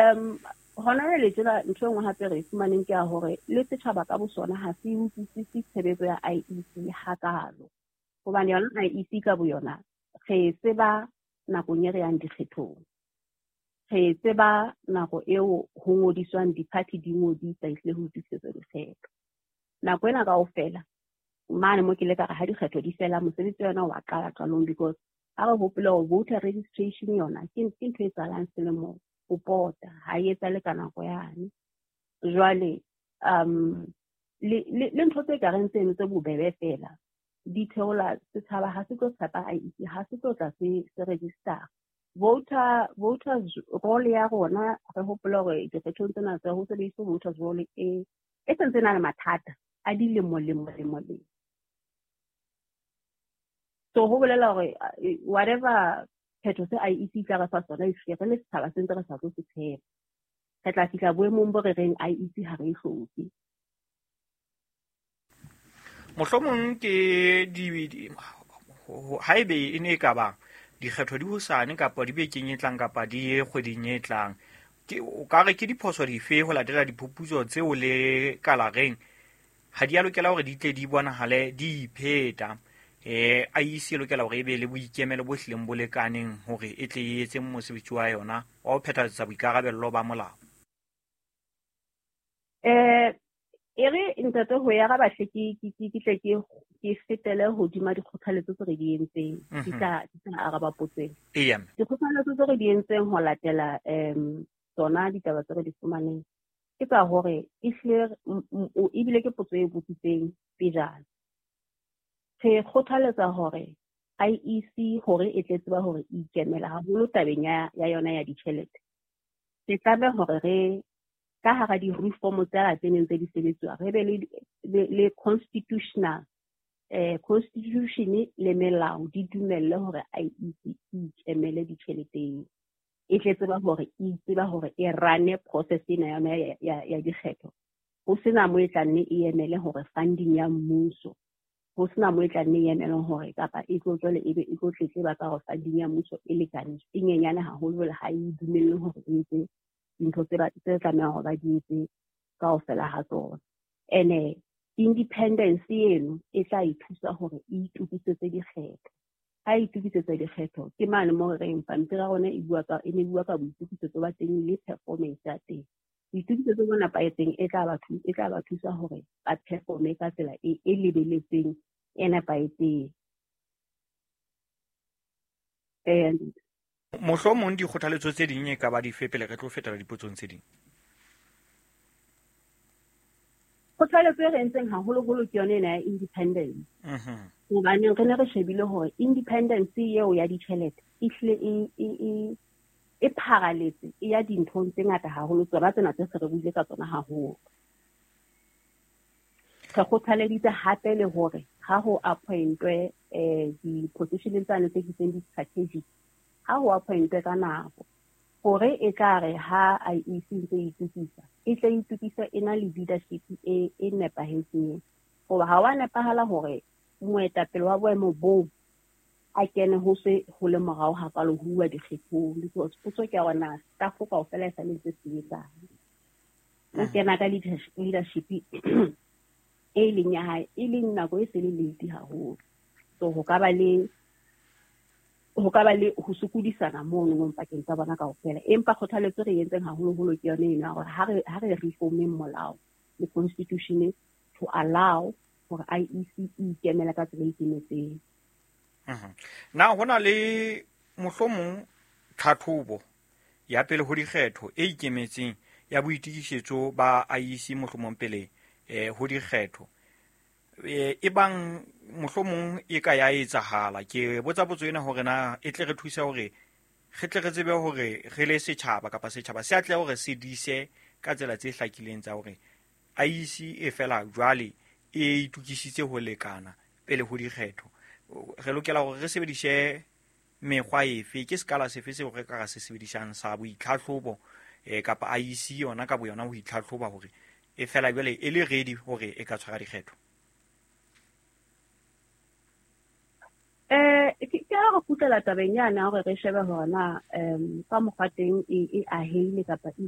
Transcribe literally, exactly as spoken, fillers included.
Um hona jwale tjena ntho e nngwe hape re e fumaneng ke ya hore le setjhaba ka bo sona ha se utlwisise tshebetso ya I E C hakalo. Hobane yona I E C ka boyona re e tseba nakong e re yang dikgethong. Re e tseba nako eo ho ngodiswang di-party di ngodisa ehlile ho itokisetsa dikgetho. Nako ena kaofela mane mo ke le ka re ha dikgetho di fela mosebetsi wa yona wa qala qalong, because ha re hopole hore voter registration yona ke ke ntho e etsahalang selemo ho pota, ha e etsahale ka nako yane. Jwale um le le ntho tse kareng tseno tse bobebe fela di theola setjhaba, ha se tlo tshepa I E C, ha se tlo tla se se register. Voter voters roll ya rona re hopola hore dikgethong tsena tsa ho sebediswa voters roll e e sentse na le mathata a dilemo lemo lemo lemo. So ho bolela hore whatever phetho se I E C tla re fa sona, ehlile re le setjhaba se ntse re sa tlo se tshepa. Re tla fihla boemong bo re reng I E C ha re e hloke. Mohlomong ke di haebe e ne e ka ba dikgetho di hosane kapa di bekeng e tlang kapa di kgweding e tlang, ke o ka re ke diphoso dife ho latela diphuputso tseo le kalareng ha di a lokela hore di tle di bonahale di ipheta? Eh I E C e lokela hore e be le boikemelo bo hlileng bo lekaneng hore e tle e etse mosebetsi wa yona wa ho phethahatsa boikarabello ba molao. Eh e re ntate ho ya ga bahle ke ke ke tle ke ke fetele hodima dikgothaletso tse re di entseng, di tla di tla araba potso ena. Eya. Dikgothaletso tse re di entseng ho latela um tsona ditaba tse re di fumaneng ke tsa hore ehlile ebile ke potso e botsitseng pejana. Re kgothaletsa hore I E C hore e tle tseba hore e ikemela haholo tabeng ya ya yona ya ditjhelete. Re tlameha hore re ka hara di-reform tsela tse neng tse di sebetsuwa re be le le constitutional eh constitution le melao di dumelle hore I E C e ikemele ditjheleteng, e tle tseba hore e tseba hore e run process ena yona ya ya ya dikgetho, ho sena mo e tla nne e emele hore funding ya mmuso, ho sena mo e tla nne e emele hore kapa e tlo tswele ebe e tlo tletleba ka hore funding ya mmuso e lekane e nyenyane haholo jwale ha e dumelle hore e etse dintho tse ba tse tlamehang hore ba di etse kaofela ha tsona. Ene independence eno e tla e thusa hore e itokisetse dikgetho. Ha e itokisetsa dikgetho ke mane mo re reng pampiri ya rona e bua ka e ne bua ka boitokisetso ba teng le performance ya teng. Boitokisetso bo nepahetseng e tla ba e tla ba thusa hore ba performe ka tsela e e lebeletseng e nepahetseng. And mohlomong dikgothaletso tse ding e ka ba dife pele re tlo fetela dipotsong tse ding? Kgothaletso e re entseng haholoholo ke yona ena ya independence. Hobaneng re ne re shebile hore independence eo ya ditjhelete ehlile e e e e pharaletse e ya dinthong tse ngata haholo, tsona tsena tse se re buile ka tsona haholo. Re kgothaleditse hape le hore ha ho appointwe eh di-position tsane tse bitswang di-strategic, ha ho appointwe ka nako hore e tla re ha I E C ntse e itokisa e tle e itokise e na le leadership e e nepahetseng. Hoba ha wa nepahala hore moetapele wa boemo boo a kene ho se ho le morao hakalo ho uwa dikgethong, because potso ke ya hore na staff kaofela e sale ntse sebetsang. O kena ka leadership e leng ya hae e leng nako e se le late haholo. So ho ka ba le ho ka ba le ho sokodisana mono mo pakeng tsa bona kaofela. Empa kgothaletso re entseng haholoholo ke yona ena hore ha re ha re reformeng molao le constitution to allow hore I E C e ikemele ka tsela e ikemetseng. Na hona le mohlomong tlhatlhobo ya pele ho dikgetho e ikemetseng ya boitokisetso ba I E C mohlomong pele eh ho dikgetho e bang mohlomong e ka ya etsahala? Ke botsa potso ena hore na e tle re thuse hore re tle re tsebe hore re le setjhaba kapa setjhaba se atle hore se dise ka tsela tse hlakileng tsa hore I E C e fela jwale e itokisitse ho lekana pele ho dikgetho. Re lokela hore re sebedise mekgwa efe, ke sekala sefe seo re ka ra se sebedisang sa boitlhatlhobo eh kapa I E C yona ka boyona ho itlhatlhoba hore e fela jwale e le ready hore e ka tshwara dikgetho? Eh ke ke re kgutlela tabeng yana hore re shebe hore na um ka mokgwa teng e e ahehile kapa e